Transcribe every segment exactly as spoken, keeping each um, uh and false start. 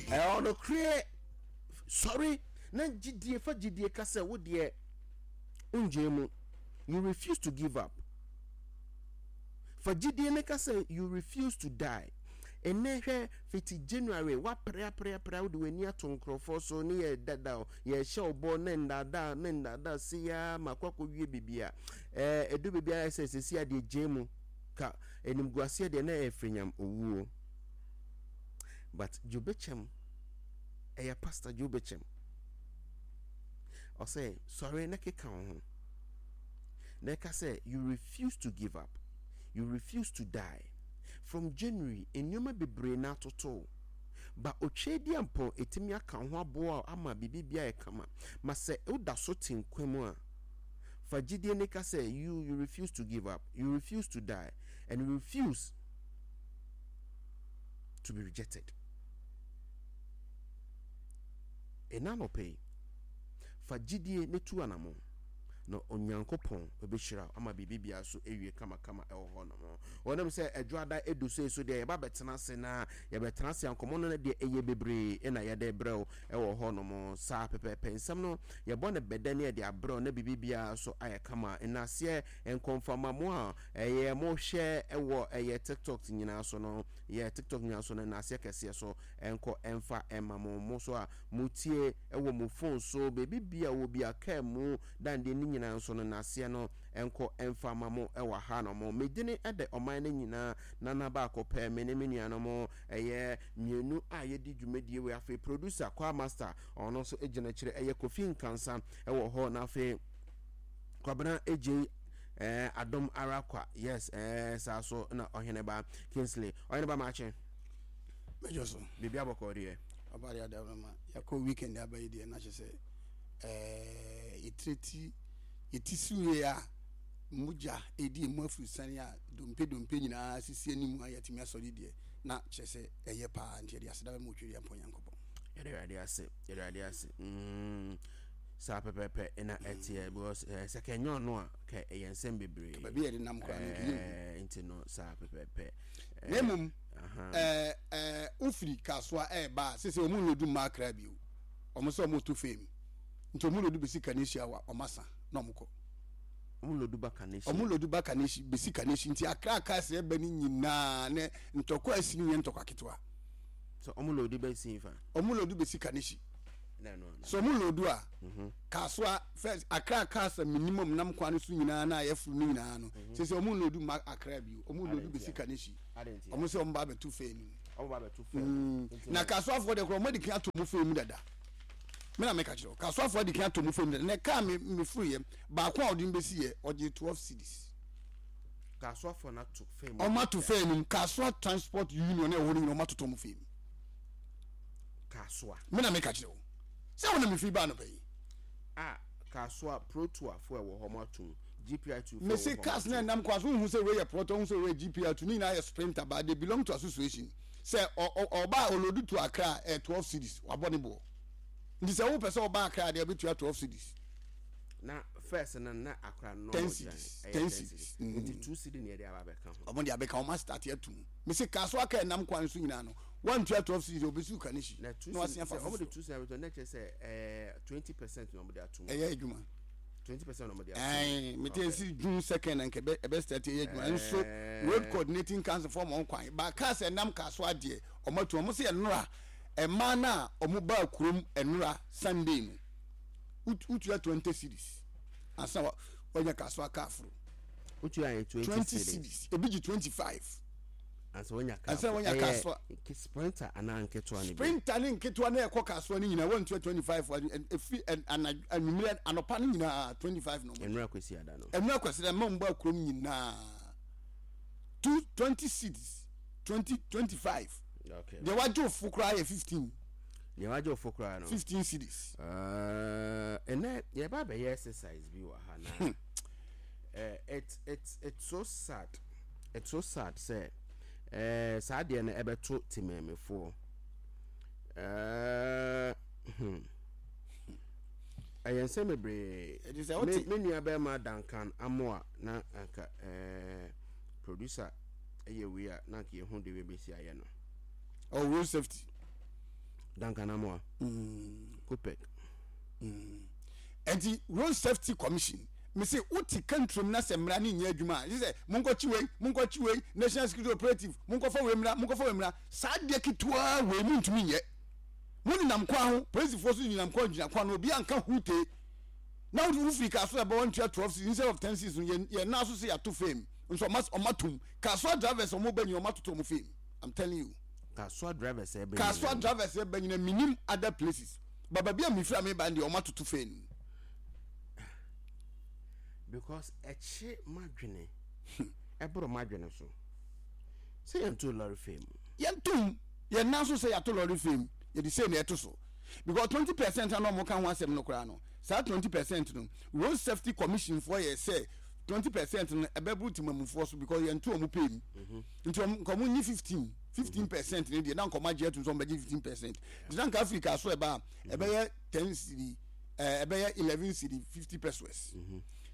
Ɛyɛ ɔnokorɛ. Sɔre na gyidie, fa gyidie ka sɛ wo deɛ wongyae mu. You refuse to give up. Fa gyidie no ka sɛ you refuse to die. Ɛnnɛ hwɛ, fiti January woapere apere apere a wode w'ani ato nkurɔfoɔ so ne yɛ dada o, yɛhyɛ wo bɔ ne nnaadaa ne nnaadaa sei ara ma akɔ akɔwie baabi a ɛɛ ɛdu baabi a sɛ sɛsi adeɛ gyae mu ka animguaseɛ deɛ na ɛyɛ firinyam owuo. But Joe Bekyem ɛyɛ Pastor Joe Bekyem. Ɔsɛ sɔre na keka wo ho. Na ɛka sɛ you refuse to give up, you refuse to die. From January nneɛma bebree na atoto ba Otweaduampɔn ɛtumi aka wo ho aboa wo ama biribi biara ayɛ kama. Ma sɛ woda so te nkwa mu a, fa gyidie ne ka sɛ you you refuse to give up, you refuse to die and you refuse to be rejected. Ɛna anɔpa yi, fa gyidie ne tu anamɔn na Onyankopɔn bɛhyira wo ama biribi biara so awie kamakama ɛwɔ hɔ nom. Wɔnim sɛ adwoada edu so so deɛ yɛba bɛtena ase na yɛbɛtena ase a nkɔmmɔ no deɛ ɛyɛ bebree na yɛde brɛ wo ɛwɔ hɔ nom. Saa pɛpɛɛpɛ nsɛm no yɛbɔ no bɛdɛ ne yɛde abrɛ wo na biribi biara so ayɛ kama. Nnaseɛ nkɔmfama mo a ɛyɛ mo hwɛ ɛwɔ ɛyɛ TikTok nyinaa so no, yɛ TikTok nyinaa so no nnaseɛ kɛseɛ so ɛnkɔ ɛmfa ɛma mo. Mo so a motie ɛwɔ mo phone so baabi bia wɔ bia kaa mu dandeɛ ne nyinaa nso no nnaseɛ no ɛnkɔ ɛmfa ma mo ɛwɔ ha no mo. Medini ɛdɛ ɔman no nyinaa nana baako pɛ, me ne me nuanom ɛyɛ mmienu a yɛdi dwumadie wei. Afei producer Kwa Master ɔno nso gyina akyire, ɛyɛ Kofi Nkansa ɛwɔ hɔ, na afei Kwabena Ejei ɛɛ Adom ara kwa, yes, ɛɛ saa so na ɔhene ba Kingsley ɔhene ba maakye. Mɛdwo so. Biribi abɔkɔ deɛ. Ɔba deɛ ada ma yɛkɔ weekend aba yi deɛ na kyerɛ sɛ ɛɛ yɛtire ti yɛti siwie a mogya ɛdi emu afurusane a dompe dompe nyinaa sisi anim a yɛatumi asɔre deɛ na kyerɛ sɛ ɛyɛ paa, nti yɛde aseda bɛma Otwedeɛ Mpɔn Nyankopɔn. Yɛde Awurade ase, yɛde Awurade ase. Mm, saa pɛpɛpɛ na ɛteɛ because eh, sɛ kɛnyɛ ɔno a kɛ ɛyɛ nsɛm bebree. Baabi yɛde nam koraa no nkɛyɛ hu. Eh, nti no saa pɛpɛpɛ. Na mmom ɛɛ ɛɛ wofiri Kasoa ɛɛba a sese wɔn nlodu mma Accra bio, wɔn sɛ wɔn to fam nti wɔn lodu besi Kaneshie a wɔn asa na wɔn kɔ. Wɔn lodu ba Kaneshie. Wɔn lodu ba Kaneshie besi Kaneshie nti Accra cars ɛba ne nyinaa ne ntɔkwa asi ne nyɛ ntɔkwa ketewa. So wɔn lodu besi nfa. Wɔn lodu besi Kaneshie. So wɔn lodu a mhm. Kasoa first Accra cars a minimum nam kwan no so nyinaa na ayɛ furu no nyinaa no mhm. sese wɔn lodu ma Accra bio, wɔn lodu besi Kaneshie, wɔn sɛ wɔn ba abɛto fɛn no mu. Wɔn ba abɛto fɛn mu. Mm. Na Kasoafoɔ deɛ koraa wɔn adi kan ato mu fɛn mu dada. Me na meka kyerɛ wo, Kasoafoɔ adi kan ato mu fɛn mu dada. Na kaa me me furu yɛ baako a ɔde me besi yɛ ɔgye twelve cedis. Kasoafoɔ no ato fɛn mu. Wɔn ato fɛn mu. Kasoa Transport Union ɛwɔ hɔ no nyinaa wɔn atoto wɔn fɛn mu. Kasoa. Me na meka kyerɛ wo sɛ wo na mefiri baa anɔpa yi. A Kasoa Protoa fo ɛwɔ hɔ mo atum G P I two fo Mese ɛwɔ hɔ mo cars na atum. ɛnam kwan so, wohu sɛ wei yɛ Proto, wohu sɛ wei yɛ G P I two, ne nyinaa yɛ Sprinter but they belong to association. Sɛ ɔba a ɔload to Accra a ɛyɛ twelve cedis, wabɔ ne boɔ. Nti sɛ wopɛ sɛ ɔba Accra deɛ wobɛtua twelve cedis. Na first no na Accra no ten normal cedis, ɛyɛ ten ten cedis. cedis. Mm. Nti two cedi na yɛde aba abɛka ho. Ɔmo de abɛka, ɔmo astarte atum. Mese Kasoa kaa ɛnam kwan so nyinaa no, wantua twelve cedis a obesi wo Kaneshie Na two na cedi wasen afa sɛ ɔmo de foforɔ. two cedi abɛto na kyerɛ sɛ ɛɛ twenty percent na ɔmo de atum. Ɛyɛ adwuma. Twenty percent na ɔmo de atum. Ɛɛ mete Okay. esi June second na nka ɛbɛ ɛbɛ start ɛyɛ adwuma nso Road Ɛɛ Coordinating Council fɔ ɔmo kwan ba cars ɛnam Kasoa deɛ ɔmo atu ɔmo sɛ ɛnora ɛmaa no a ɔmo baa kurom ɛnora Sunday no wotua twenty cedis ansa wa wanya Kasoa car foro. Wotua yɛ twenty twenty cedis. Cedis, ebi gye twenty five. Ansa wanya car ansa foro. Wanya Kasoa. Ɛyɛ Sprinter anaa nketewa no bi? Sprinter ne nketewa na ɛkɔ Kasoa no nyinaa wantua twenty five, efi anwummerɛ anɔpa no nyinaa twenty five na ɔmo gye. Ɛnora Kwasi ada no. Ɛnora Kwasi da mma ɔmo baa kurom nyinaa two twenty cedis, twenty twenty five. Okay. Deɛ wagye ofo koraa yɛ fifteen. Deɛ wagye ofo koraa no. Fifteen cedis. Ɛɛ ɛnɛ yɛba abɛyɛ exercise bi wɔ ha na ɛɛ it's it's it's so sad, it's so sad sɛ ɛɛ saa deɛ no ɛbɛto temɛɛmefoɔ. ɛɛ hmm ɛyɛ nsɛm bebree. Ɛdi sɛ Me wote. me nua bɛrima Duncan Amoa na anka ɛɛ producer ɛyɛ wei a na anka yɛhu de wei bɛsi ayɛ no. Ɔ road safety. Duncan Amoah. Copec. Nti Road Safety Commission, mese wote country mu na sɛ mmara ne nyɛ adwuma a, sɛ monkɔkye wei, monkɔkye wei, National Security Operative, monkɔfa wei mmra, monkɔfa wei mmra. Saa deɛ ketewa wei montumi nyɛ. Mo nenam kwan ho, polisifoɔ so nenam kwan, gyina kwan no, obi anka hute na wofiri kaa so ɛbɛ wɔntua twelve cedis instead of ten cedis no. yɛn yɛn nan so sɛ yɛato fame nso ɔma ɔma tum. Kasoa drivers, ɔmo bɛ nyina, ɔma toto ɔmo fame. I'm telling you. Kasoa drivers ɛbɛ. Kasoa drivers ɛbɛ nyina, minim other places, but baabi a mefiri a meba deɛ, ɔma toto fame. Because ɛkye madwene, ɛboro madwene so sɛ yɛnto lorry fare mu. Yɛntom yɛn nan so sɛ yɛato lorry fare mu, yɛde sei na ɛto so, because twenty percent a na ɔmo ka ho asɛm no koraa no, saa twenty percent no, Road Safety Commission foɔ yɛ sɛ twenty percent no ɛbɛboro temamufoɔ so, because yɛnto ɔmo pay mu. Nti ɔmo nka ɔmo nyi fifteen fifteen percent ne deɛ, na nka ɔmo agye atum sɛ ɔmo bɛgye fifteen percent. Nti na nka Africa so ɛba a, ɛbɛyɛ ten cedi, ɛɛ ɛbɛyɛ eleven cedi fifty pesewas.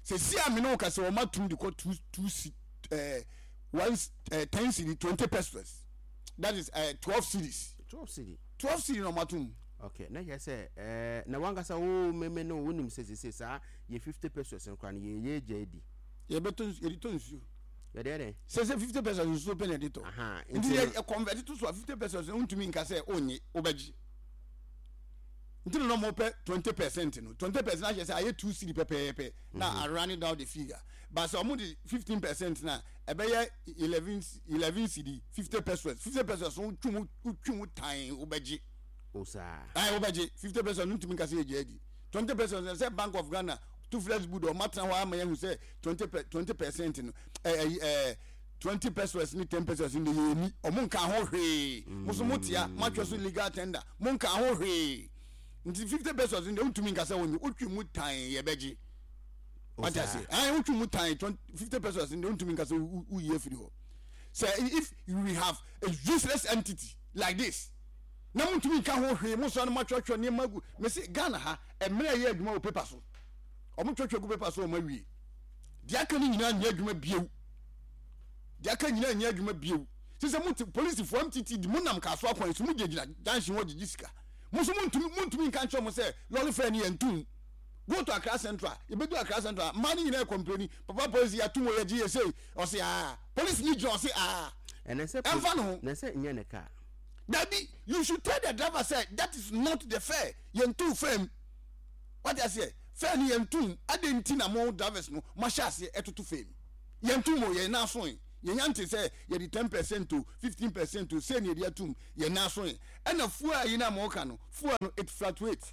Sɛ si a mene wo ka sɛ ɔmo atum de kɔ two two c ɛɛ one ɛɛ ten cedi twenty pesewas, that is ɛɛ twelve cedis. Twelve cedi. Twelve cedi na ɔmo atum. Okay, na kyerɛ sɛ ɛɛ na wankasa wo meme no, wonim sɛ sese saa yɛ fifty pesewas no koraa no, yɛyɛ gya adi. Yɛbɛtɔ nsu, yɛde tɔ nsuo. Yɛde yɛ dɛn? Sɛ sɛ fifty pesewas, nsuo pɛ na yɛde tɔ. Aha. Nti yɛ yɛ convert to so a, fifty pesewas no, ntumi nka sɛ ɔnye, wobɛgye. Nti na ɔmo pɛ twenty percent no. Twenty percent ahyɛ sɛ ayɛ two cedi pɛpɛɛpɛ na a running down the figure, but sɛ ɔmo de fifteen percent na ɛbɛyɛ eleven eleven cedi fifty pesewas. Fifty pesewas no, wotwi mu, wotwi mu tan, wobɛgye. O saa. Ayi, wobɛgye fifty percent no, ntumi nka sɛ yɛgye adi. Twenty percent sɛ Bank of Ghana Toothless Board ɔmo atena hɔ ama yɛn sɛ twenty per twenty percent no, ɛɛ ɛɛ twenty pesewas ne ten pesewas no de, yɛ ni ɔmo nka ho hwee. Mo so mo tia mo atwa so legal tender, mo nka ho hwee. Nti fifty pesewas no de, ntumi nka sɛ wɔnye. Wotwi mu tan, yɛbɛgye. Wate ase? Ayi, wotwi mu tan, twenty fifty pesewas no de, ntumi nka sɛ woyi afiri hɔ. Sɛ if we have a useless entity like this na mo ntumi nka ho hwee, mo sɔ no, mo atwerɛtwerɛ nneɛma gu. Mesi Ghana ha, mmerɛ yɛ adwuma wɔ paper so, ɔmo twerɛtwerɛ gu paper so, ɔmo awie. Deɛ aka no nyinaa nyɛ adwuma biew. Deɛ aka nyinaa nyɛ adwuma biew. Sisɛ mo te polisifoɔ M T T D, mo nam kaaso akwan so, mo gyinagyina junction hɔ gyegye sika. Mo nso mo ntumi mo ntumi nka nkyerɛ mo sɛ lorry fare ni yɛ ntum. Go to Accra Central. Ebedu Accra Central, mmaa no nyinaa complain, "Papa polisi, yɛatum wɔ, yɛgye yɛ sei." Ɔse aa, polisi ni gyina, ɔse aa. Ɛnɛ sɛ ɛnfa ne ho. Na sɛ nyɛ ne kaa. Dabi, you should tell the driver say that is not the fare. Yɛn tu fare mu, wate aseɛ? Fare ni yɛn tu ade. Nti na mo drivers no mo ahyɛ aseɛ ɛtoto fare mu. Yɛn tu mo yɛn nan so yi, yɛn yan te sɛ yɛde ten percent o, fifteen percent o, sɛ ni yɛde atum yɛn nan so yi. Ɛna fuel yi na mo ka no, fuel no, it fluctuate,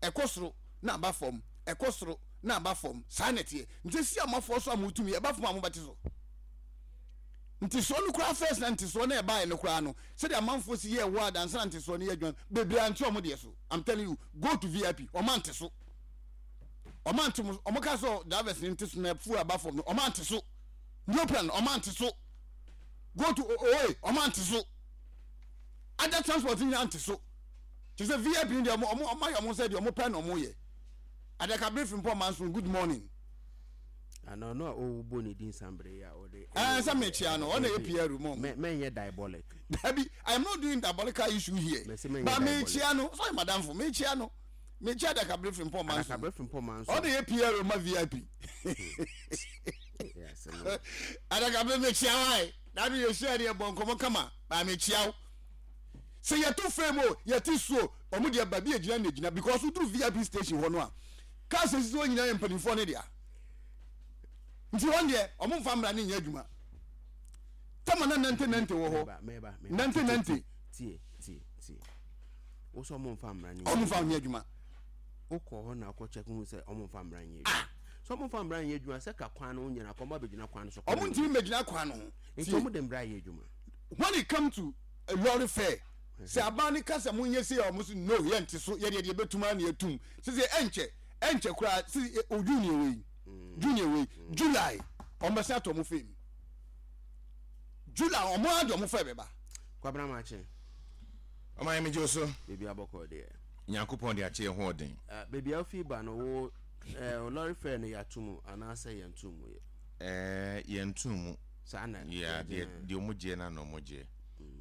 ɛkɔ soro na aba fam, ɛkɔ soro na aba fam. Saa na ɛteɛ. Nti si amafoɔ so a mo tum yɛ ɛba fam a, mo bɛte so. Ntisoɔ no koraa first na ntisoɔ no ɛbaeɛ no koraa no, sɛdeɛ amanfoɔ si yɛ ɛwɔ adansa na ntisoɔ no yɛ adwuma bebree ante ɔmo deɛ so. I'm telling you, go to V I P, ɔmo ante so, ɔmo ante mo. Ɔmo ka sɛ drivers ne nte so na fuel aba fam no, ɔmo ante so. Neoplan, ɔmo ante so. Go to oe, ɔmo ante so. Other transport nyinaa ante so. Kyerɛ sɛ V I P no deɛ, ɔmo ɔmo ɔmo ayɛ ɔmo sɛ deɛ ɔmo pɛ na ɔmo yɛ. Adakabere Frimpong Manso, good morning. Ana ɔno a ɔwɔ ne din sanbere yi a ɔde. Ɛɛ, sɛ mekyia no, ɔna yɛ P R mu. Mɛnyɛ diabolic. Dabi, I am not doing diabolical issue here. Mɛsɛ mɛnyɛ but diabolic. Mekyia no, sɛ madamfo, mekyia no, mekyia Adakabere Frimpong Manso. Adakabere Frimpong Manso. Ɔna yɛ P R ma V I P. Yeah, asɛm no. Adakabere, mekyia wae dabi, yɛhyia deɛ, bɔ nkɔmmɔ kama ba. Mekyia wo sɛ yɛto fam o, yɛte suo, ɔmo deɛ baabi egyina na egyina, because woduru V I P station hɔ no a, cars esisi hɔ nyinaa yɛ mpanimfoɔ ne dea. Nti wɔn deɛ, ɔmo nfa mmara ne nyɛ adwuma. Tama na nante nante wɔ hɔ. Mɛba, mɛba, mɛba. Nante nante. Tie, tie, tie, wo sɛ ɔmo nfa mmara ne ɔmo nfa nyɛ adwuma. Wokɔ hɔ na wokɔ check hu sɛ ɔmo nfa mmara nyɛ adwuma. Sɛ ɔmo nfa mmara nyɛ adwuma sɛ ka kwan no nyina kɔmba bɛgyina kwan no so. Ɔmo ntumi mmɛgyina kwan no ho. Nti Tie. ɔmo de mmara yɛ adwuma. When it come to a lorry fare, sɛ aban ne kasa mo nyɛ se a, ɔmo so no, yɛnte so. Yɛdeɛ deɛ yɛbɛtum a na yɛtum sɛ ɛnkyɛ ɛnkyɛ koraa sɛ o junior wei, junior wei, July ɔmo bɛsɛn ato ɔmo fame. July ɔmo adi ɔmo fɛ bɛba. Kwabena Makye. Ɔma yɛ megye wo so. Baabi abɔkɔ deɛ. Nyankopɔn de akyɛ yɛ ho ɔden. Ah, baabi a wofi ba no, wo eh, lorry fare no, yɛato mu anaasɛ yɛnto mu yɛ? Ɛɛ, yɛnto mu. Saa na yeah, yɛgye deɛ no. Deɛ ɔmo gyeɛ na na ɔmo gyeɛ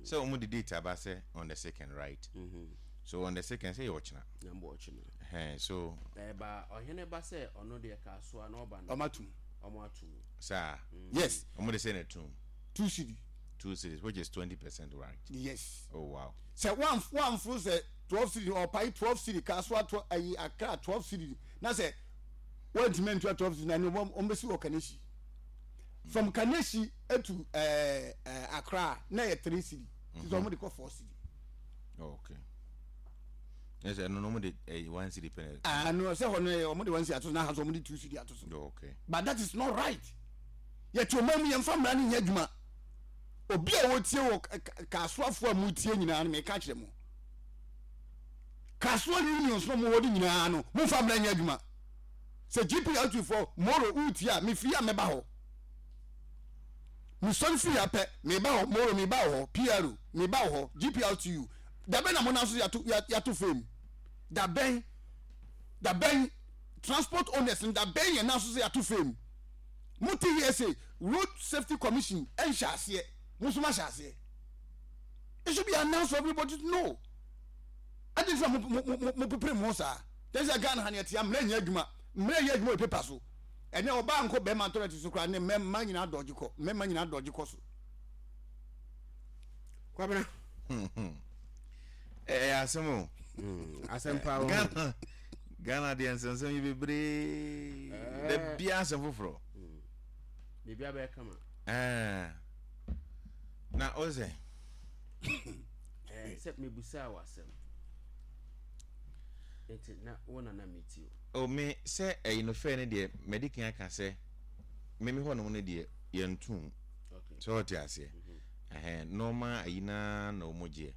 sɛ ɔmo de date aba sɛ on the second, right? Mhm. So on the second, sɛ yɛ ɔkyena. Nyambɔ ɔkyena. Ɛhɛn, so Ɛba ɔhene ba sɛ ɔno deɛ Kasoa na ɔba no. Ɔmo atum. Ɔmo atum. Saa. Yes. Ɔmo de sɛ na tum. Two cedi. Two cedis, which is twenty percent, right? Yes. Oh wow. Sɛ wanforo sɛ twelve cedi, ɔpae twelve cedi Kasoa twelve, ayi Accra twelve cedi na sɛ wɔntumi ntua twelve cedi na ɛno wɔn bɛsi wɔ Kaneshie. From Kaneshie etu ɛɛ ɛɛ Accra na yɛ three cedi, sisan wɔn de kɔ four cedi. Oh, okay. Ɛsɛ ɛno no ɔmo de ɛyi one cedi pɛ. Ah no, sɛ hɔ no yɛ wɔn de one cedi ato so na ha so wɔn de two cedi ato so. Oh, okay. But that is not right. Yɛte ɔman mu, yɛmfa mmara no nyɛ adwuma. Obi a wɔtie wɔ Kasoafoɔ a motie nyinaa no, meka kyerɛ mo, Kasoa unions no mowɔ de nyinaa no, momfa mmara nyɛ adwuma. Sɛ G P L T foɔ moro wotie a, mefiri a mɛba hɔ. Mesɔre firi ha pɛ, meba hɔ. Moro, meba wɔ hɔ. P R O, meba wɔ hɔ. G P L T U, dabɛn na monam so yɛato yɛato fam? Dabɛn, dabɛn? Transport owners no, dabɛn yɛn nan so sɛ yɛato fam? Mote here sɛ Road Safety Commission ɛnhyɛ aseɛ, mo nso mahyɛ aseɛ. It should be announced for everybody to know. Adi nti na mo mo mo mo pepere mo ho saa tɛn sɛ Ghana ha ne ɛte mmerɛ nyɛ adwuma. Mmerɛ yɛ adwuma wɔ paper so. Ɛnɛ ɔbaa nkɔ bɛrima toilet so koraa ne mmarima nyinaa dɔgye kɔ, mmarima nyinaa dɔgye kɔ so. Kwabena. Ɛyɛ asɛm o. Asɛm paa wɔ. Ghana, Ghana deɛ, nsɛnsɛm yi bebree da bia, asɛm foforɔ. Biribi abɛyɛ kama. Ɛɛ, na o sɛ Ɛɛ, sɛ mebusaa wɔ asɛm nti na wo nana metie o. O, me sɛ ɛyi no fɛ no deɛ, mɛdi kan aka sɛ meme hɔnom no deɛ, yɛntom. Okay. Sɛ ɔte aseɛ, ɛhɛn, nɔɔma ayi naa na ɔmo gyeɛ.